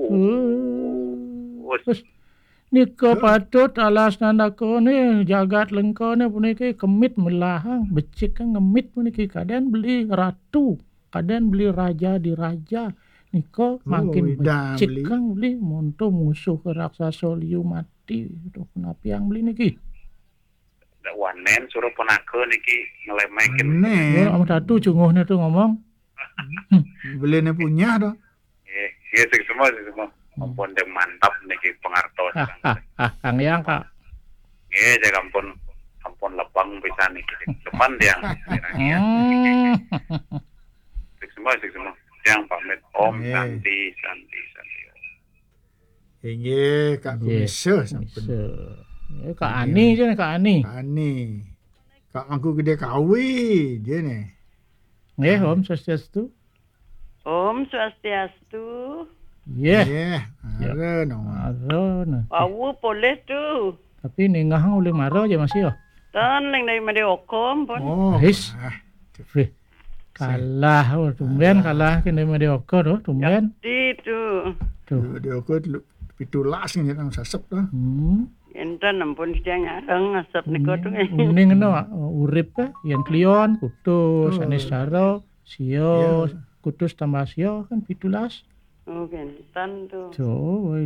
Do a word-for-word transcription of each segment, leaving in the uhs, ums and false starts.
Uh, Terus, nika patut alas nandakane jagat Lengkane puniki kemit melahang, becik ngemit puniki kaden beli ratu, kaden beli raja diraja. Nika makin becik beli. Kang beli monto musuh ke raksasa liu mati. Duh, punapi yang beli niki? Dak wanen suruh penaka niki ngelemekin. Wanen. Ya, Om Datu cunguhne tu ngomong. Beline punya tu. Nggih, nggih, sing semua, sing semua. Ampun, yang mantap niki pengartos. Ah, ah, ah, Kang Yang, Kak. Nggih, saya ampun, ampun lebang pisan niki. Depan tiang. Hmm. Sing semua, sing semua. Tiang pamit. Om Nggih. Santi, Santi, Santi. Inggih, Kak Nggih, Kumisa sampun. Kumisa. Eh, Kak Nggih. Ani je ni, Kak Ani. Kak Ani. Kak Mangku Gede Kawi je ni. Nggih, Ah. Om Swastiastu. Om Swastiastu. Nggih. Nggih, Ya. Arun, Om. Arun. Wau polih tu. Tapi ningah ulih mara je masih, oh. Tan ling dari Made Okom pun. Oh, His. Ah. Wih. Kalah, oh, tumben kalah kene Made Okom tu, tumben. Jadi tu. Tu. Made Okom tu pitulas ni nang sasep tu. Hmm. Enten ampun setiang nyareng asap nika tu, eh. Uning no, urip ke, yang klion, kutus, Betul. Anis Saro, sio, Ya. Kutus tambah sio kan pitulas. Oh, enten tu. Tu,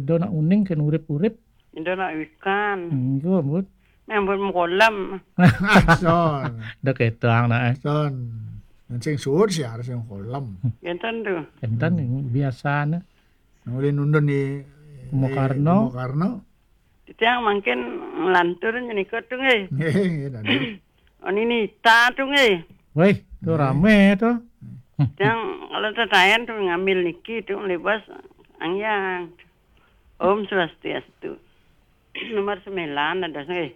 do nak uning kan urip-urip. Indo nak ikan. Enggak, Bud. Yang buat kolam. Son. Dah ketang nak, eh. Son. Yang sing suud sih harus yang kolam. Enten tu. Enten ni biasa ni. Nang ulih nundun di Kumo Karno. Kumo Karno. Titiang mangkin ngelantur nyenikut tu nggih. Nggih, nggih, tadi. Oh, ini Nita tu nggih. Weh, tu Nggih. Rame tu. Tiang kalau tetayan tu ngambil niki tu libas angyang. Om Swastiastu. Nomor sembilan ada nggih.